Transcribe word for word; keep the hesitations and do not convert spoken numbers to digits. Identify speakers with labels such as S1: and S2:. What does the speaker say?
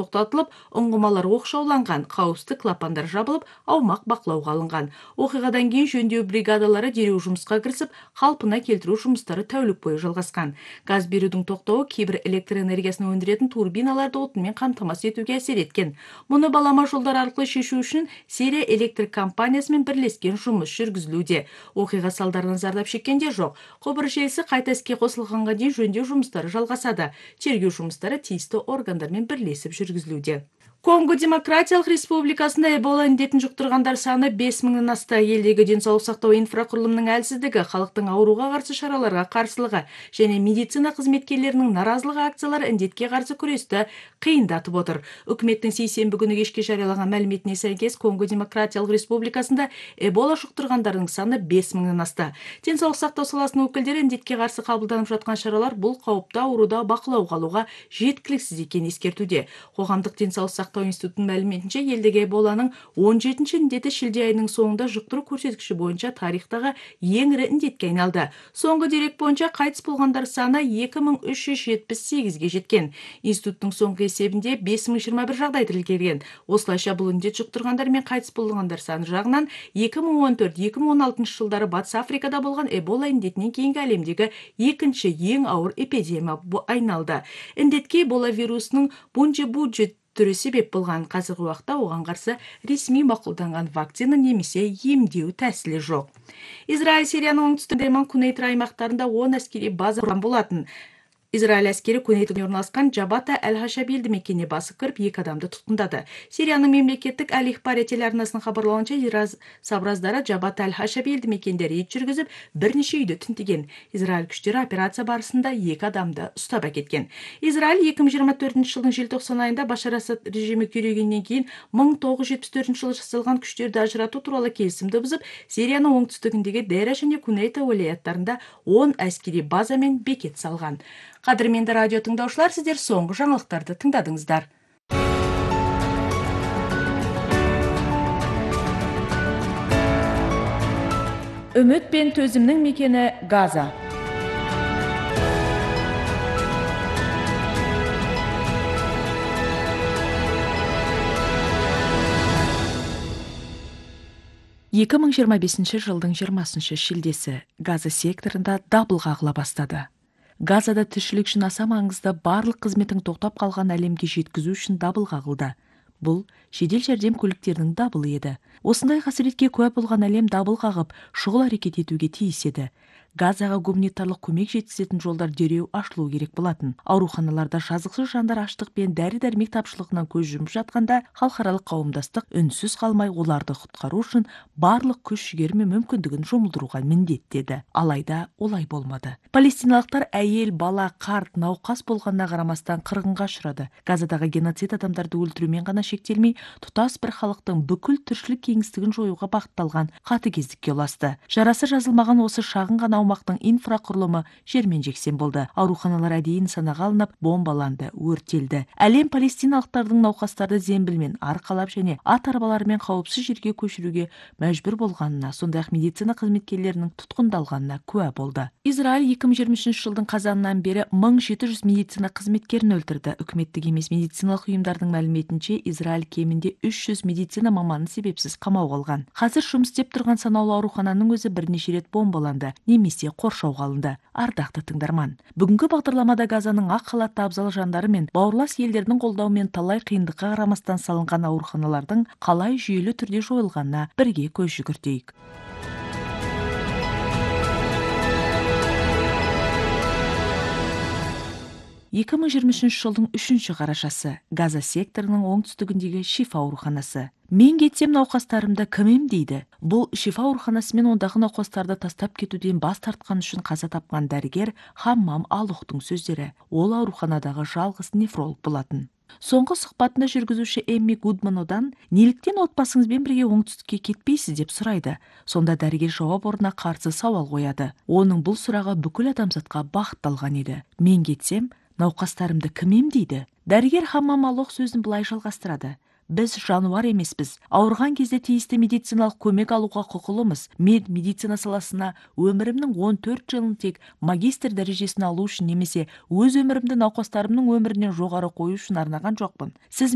S1: токтотулуп, уңгумалар окшооланган, кауіпсіздік клапандар жабылып, аумак бақылауга алынган. Окуядан кийин жөндөө бригадалары дереу жумушка киришип, калпына келтирүү жумуштары тәулүк бою жалгаскан. Газ берүүнүн токтообу кээ бир электр энергиясын өндүрөтүн турбиналарды отун менен камтамасыз этүүгө асер эткен. Муну балама жолдор аркылуу шешүү үчүн Сирия электрик компаниясы менен бирлешкен жумуш жүргүзүлүүдө. Окуя салдарынан зардап чеккендер жок. Кобур желиси кайта иске косулганга чейин жөндөө жумуштары жалгасады. Чергөө жумуштары тийиштүү органдар менен бирлешип жүргүзүлүүдө. Конго Демократиялык Республикасында Эбола индетин жуктургандар саны беш миңден асты. Элдеги ден соолук сактоо инфракурулумунун әлсиздиги, халыктын ооруга каршы чараларга каршылыгы және медицина кызметкерлеринин наразылык акциялары индетке каршы күрөстү кыйындатып отур. Өкмөттүн сейсенби күнү кечке жарыялаган маалиметине сайкес Конго Демократиялык Республикасында Эбола жуктургандардын саны беш миңден асты. Ден соолук сактоо саласынын өкүлдөрү индетке каршы кабылданып жаткан чаралар бул кооптуу оорууда бакылоого алууга жеткиликсиз экенин эскертүүдө. Коомдук ден соолук сактоо институтунун маалиметинче, элдеги Эболанын он жетинчи индети шилде айынын соңунда жуктуруу көрсөткүчү боюнча тарыхтагы эң ири индетке айналды. Соңку дерек боюнча кайтыс болгондар саны эки миң үч жүз жетимиш сегизге жеткен. Институттун соңку эсебинде беш миң жыйырма бир жагдай тиркелген. Осулайча бул индет жуктургандар менен кайтыс болгондар саны жагынан эки миң он төрт эки миң он алтынчы жылдары Батыс Африкада болгон Эбола индетинен кийинки әлемдеги экинчи эң ауыр эпидемия айналды. Индетке Эбола вирусунун бунжи-бужи түрү себеп болгон. Азыркы убакта оган каршы ресми макулданган вакцина немесе эмдөө тәсили жок. Израиль Сириянын оңтүстүгүндө Кунейт аймактарында он аскерий база курган болатын. Израиль аскери Кунейтте орналаскан Жабата Аль-Хашаби элди мекенине басып кирип, эки адамды туткундады. Сириянын мемлекеттик Аль-Ихбар телеарнасынын кабарлауынча, Ираз сабраздары Жабата Аль-Хашаби элди мекенде рейд жүргүзүп, бир нече үйдү тинтиген. Израиль күчтөрү операция барысында эки адамды уштап кеткен. Израиль эки миң жыйырма төртүнчү жылдын желтоқсан айында Башар Асад режими күйрөгөндөн кийин миң тогуз жүз жетимиш төртүнчү жылы жасалган күчтөрдү ажыратуу тууралуу келисимди бузуп, Сириянын оңтүстүгүндөгү Дера жана Кунейта уалаяттарында он аскери база менен бекет салган. Кадырменде радио тыңдаушылар, сиздер соңку жаңылыктарды тыңдадыңыздар. Үмүт пен төзүмнүн мекени Газа. эки миң жыйырма бешинчи жылдын жыйырмасынчы шилдеси Газа секторунда дабыл кагыла баштады. Газада тиричилик үчүн аса маңызды барлык кызметтин токтоп калган әлемге жеткизүү үчүн дабыл кагылды. Бул жедел жардам көлүктөрүнүн дабылы эди. Осундай касиретке күбө болгон әлем дабыл кагып, шугул аракет этүүгө тийиш эди. Газага гуманитарлык көмөк жеткизетін жолдар дереу ашылуу керек болатын. Ооруканаларда жазыксыз жандар ачлык менен дари-дармек тапшылыгынан көз жумуп жатканда, халыкаралык коомдоштук үнсүз калмай уларды куткаруу үчүн барлык күч-жигер менен мүмкүндүгүн жумулдурууга милдеттеди. Алайда олай болмады. Палестиналыктар айыл, бала, карт, наукас болгонуна карамастан кыргынга учурады. Газадагы геноцид адамдарды өлтүрүү менен гана шектелмей, тутас бир халыктын бүкүл тиричилик кеңистигин жоюуга багытталган катыгездикке уласты. Жарасы жазылмаган осы шагын гана аумактын инфракурулуму жермен жексен болду. Ооруканалар адийин санага алынып, бомбаланды, өртелди. Әлем палестиналыктардын наукастарды зембил менен аркалап жана ат арбалары менен кауіпсіз жерге көчүрүүгө мәжбүр болгонуна, сондай ак медицина кызметкерлеринин туткундалганына күбө болду. Израиль эки миң жыйырма үчүнчү жылдын казанынан бери миң жети жүз медицина кызметкерин өлтүрдү. Өкмөттүк эмес медициналык уюмдардын маалиметинче, Израиль кеминде үч жүз медицина маманын себепсиз камоого алган. Азыр жұмыс істеп турган санаулуу оорукананын өзү бир нече рет бомбаланды, немесе коршоого алынды. Ардактуу тыңдарман, бүгүнкү багдарламада Газанын ак халатты абзал жандары менен бауырлас элдердин колдоо менен талай кыйындыкка карамастан салынган ооруканалардын калай жүйөлүү түрдө жоюлганына бирге көз жүгүртөйүк. эки миң жыйырма үчүнчү жылдын үчүнчү карашасы Газа секторунун оңтүстүгүндөгү Шифа ооруканасы. Мен кетсем наукастарымды ким эмдейди? Бул Шифа ооруканасы менен ондагы наукастарды тастап кетүүдөн баш тарткан үчүн каза тапкан дарыгер Хаммам Алухтун сөздөрү. Ол ооруканадагы жалгыз нефролог болатын. Соңку сухбатында жүргүзүүчү Эмми Гудман неликтен отбасыңыз менен бирге оңтүстүккө кетпейсиз деп сурайды. Сонда дарыгер жооп ордуна каршы сабал коёду. Онун бул сурагы бүкүл адамзатка багытталган эди. Мен кетсем, наукастарымды ким эмдейди? Дарыгер Хаммам Алух сөзүн былай жалгастырады. Біз жануар емеспіз. Ауырған кезде тийиштүү медициналык көмек алууга кукулумуз. Мен медицина саласына өмүрүмдүн он төрт жылын тек магистр дарежесин алуу үчүн немесе өз өмүрүмдү наукастарымдын өмүрүнөн жогору коюу үчүн арнаган жокмун. Сиз